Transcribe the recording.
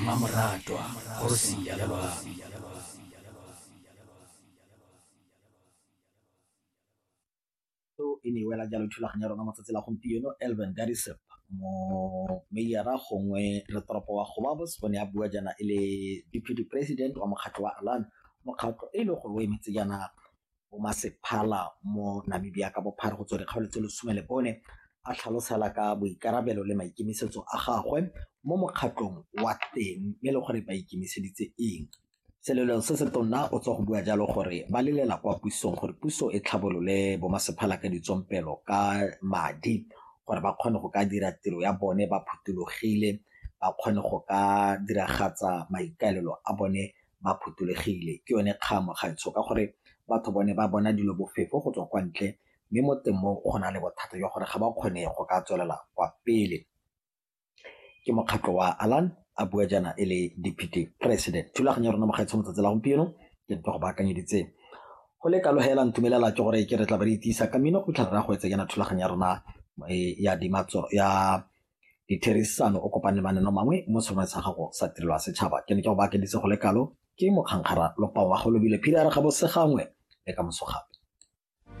Mmamoratwa, kgosi ya loabi. So e ne e wela jalo thulaganyo ya rona matsatsi la gompieno. Elvin Gariseb, mo meyara gongwe re toropo wa Gobabis, o ne a bua jaana e le deputy president wa mokgatlho wa Alan, mokgatlho e le gore o emetse jaana bomasepala mo Namibia ka bophara go tswa dikgaolo tse 14, a tlhalosela ka boikarabelo le maikemisetso a gagwe mo mokgatlhong wa teng, mme e le gore ba ikemiseditse eng. Selelo se se tonna o tswa go bua jalo gore ba lelela kwa pusong gore puso e tlhabolole bomasepala ka ditsompelo ka madi gore ba kgone go ka dira tiro ya bone ba phuthologile, ba kgone go ka diragatsa maikaelelo a bone ba phuthologile. Ke yone kgang mogaetsho ka gore batho bone ba bona dilo bofefo go tswa kwa ntle, mme mo teng mo go na le bothata jwa gore ga ba kgone go ka tswelela kwa pele. Ke mokgatlho wa Alan, a bua jaana e le deputy president. Thulaganyo ya rona mogaetsho motsatsi la gompieno ke ntse go baakanyeditse go le kalo hela, ntumelela ke gore ke re tla ba re itisa ka mmino go tlhare ra go etsa jaana thulaganyo ya rona ya dimatso ya ditherisano o kopane le mananeo mangwe mo seromeng sa gago sa tirelo ya setšhaba. Ke ne ke go baakanyeditse go le kalo, ke mokgankgara lopang wa go lobile phiri a re ga bo segangwe le ka moso gape.